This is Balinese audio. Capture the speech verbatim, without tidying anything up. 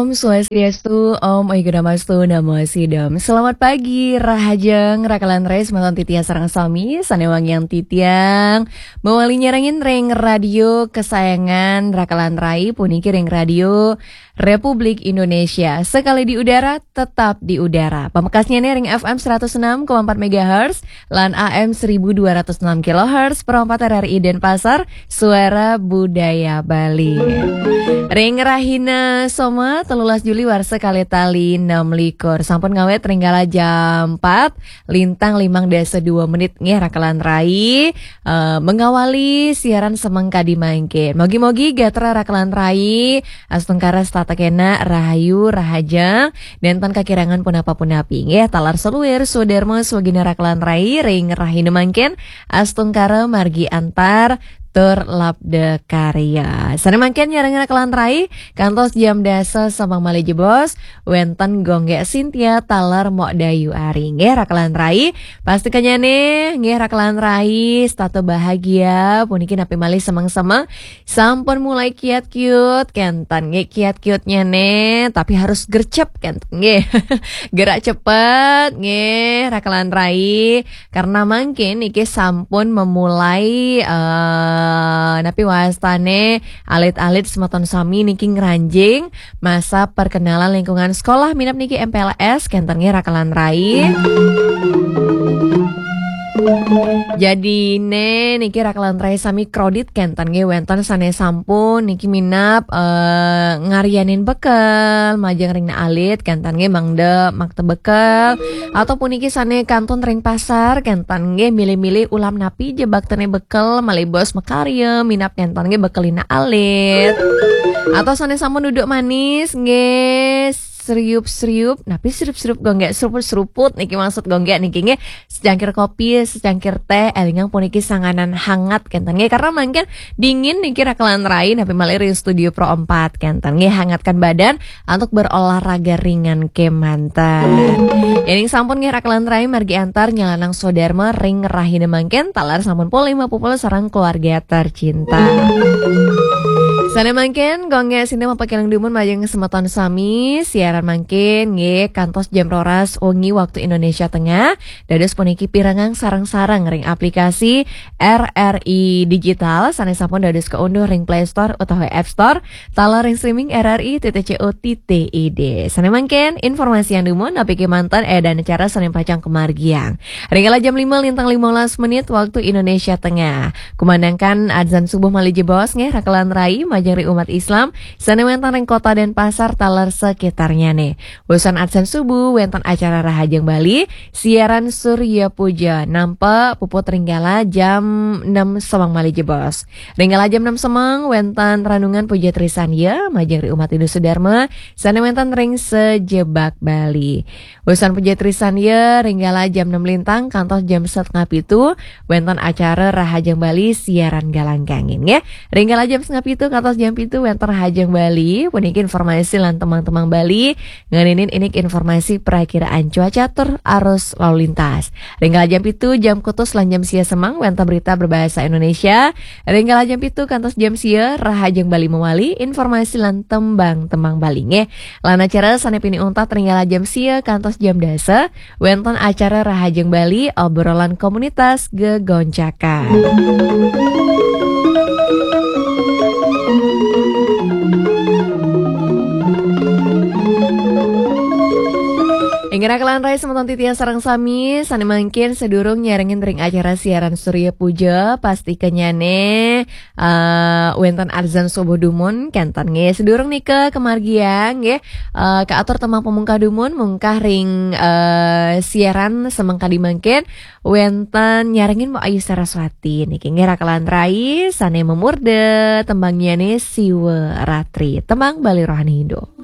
Om Swastiastu, Om Oigudamastu Namo Sidam. Selamat pagi, rahajeng, rakalan rai, semeton titiang sareng sami, sane wangiang titiang. Mawali nyarengin ring radio kesayangan rakalan rai, puniki ring Radio Republik Indonesia. Sekali di udara, tetap di udara. Pamekasnyane ring F M seratus enam koma empat megahertz, lan A M seribu dua ratus enam kilohertz, perempat R R I Denpasar, Suara Budaya Bali. Ring rahina Soma, telulas Juli warsa kalih tali enam likur. Sampun ngawit ring kala jam empat, lintang limang dasa dua menit nggih rakalan rai, eh, mengawali siaran semeng kadi mangkin. Mogi-mogi gatra rakalan rai, astungkara setata kena rahayu, rahajeng, nenten kakirangan punapa-punapi. Nggih, taler saluir, swadarma, swagina rakalan rai, ring rahina mangkin, astungkara margi antar, tur labda karya. Sane mangkin nyarengin rakalan rai, kantos jam dasa semeng malih jebos, wenten Gung Gek Sintia taler Mok Dayu Ari. Nggih, rakalan rai, pastikanyane, nggih, rakalan rai, setata bahagia, puniki napi malih semeng-semeng, sampun mulai kiat-kiut, kenten nggih kiat-kiutnyane, tapi harus gercep, kenten nggih. Gerak cepet, nggih, rakalan rai. Karena mangkin niki sampun memulai, eh, napi wastane alit-alit semeton sami niki ngranjing masa perkenalan lingkungan sekolah minab niki M P L S, kenten nggih rakalan rai. Jadine niki rakalan rai sami krodit kenten nggih wenten sane sampun niki minab, eh, ngaryanin bekel majeng ring alit kenten nggih mangda makta bekel ataupun niki sane kantun ring pasar kenten nggih milih-milih ulam napi je baktene bekel malih bos makarya minab kenten nggih bekelina alit. Atau sane sampun duduk manis nggih seriup-seriup, napi seriup-seriup Gung Gek seruput-seruput niki maksud Gung Gek niki nggih. Secangkir kopi, secangkir teh, elingang puniki sanganan hangat kenten nggih. Karena mangkin dingin niki rakalan rai, napi malih ring studio Pro empat kenten nggih. Hangatkan badan untuk berolahraga ringan kemanten. Yening sampun nggih rakalan rai margi antar nyalanang swadarma ring rahina mangkin, taler sampun pukul lima pukul sareng keluarga tercinta. Sane mangkin, Gung Gek Sinta mapakeling dumun majeng semeton sami, siaran mangkin nggih kantos jam roras wengi waktu Indonesia Tengah. Dados puniki pirengang sareng-sareng ring aplikasi R R I Digital sane sampun dados kaunduh ring Play Store utawi App Store, taler ring streaming R R I titik co titik I D. Sane mangkin informasi anu dumun napi kemanten, eh, dan acara sane pacang kamargiang. Ring kala jam lima lintang lima belas menit waktu Indonesia Tengah. Kumandangkan adzan subuh malih jebos nggih rakalan rai majeng ring umat Islam sane wenten ring Kota Denpasar taler sekitarnyane. Wusan adzan subuh wenten acara Rahajeng Bali, siaran Surya Puja nampa puput ring kala jam enam semeng malih jebos. Ring kala jam enam semeng wenten renungan Puja Trisandya majeng ring umat Hindu Sudarma sane wenten ring sajebag Bali. Wusan Puja Trisandya ring kala jam enam lintang kantos jam setengah pitu, wenten acara Rahajeng Bali siaran galang gangin, nggih. Ring kala jam setengah pitu kantos jam pitu wenten Rahajeng Bali, puniki informasi lan tembang-tembang Bali, ngeninin indik informasi perakiraan cuaca tur arus lalu lintas. Ring kala jam pitu, jam kutus lan jam sia semeng wenten berita berbahasa Indonesia. Ring kala jam pitu kantos jam sia, Rahajeng Bali mawali, informasi lan tembang-tembang Bali, nggih. Lan acara sane pinih untat ring kala jam sia kantos jam dasa, wenten acara Rahajeng Bali, obrolan komunitas gegoncakan. Inggih rakalan rai semeton titiang sareng sami, sane mangkin sedurung nyarengin ring acara siaran Surya Puja, pastikanyane eh, wenten adzan subuh dumun, kenten nggih. Sedurung nika kamargiang nggih, eh, kaatur tembang pamungkah dumun, mungkah ring, eh, siaran semeng kadi mangkin, wenten nyarengin Mbok Ayu Saraswati niki nggih rakalan rai sane mamurda tembangnyane Siwa Ratri. Tembang Bali Rohani Hindu.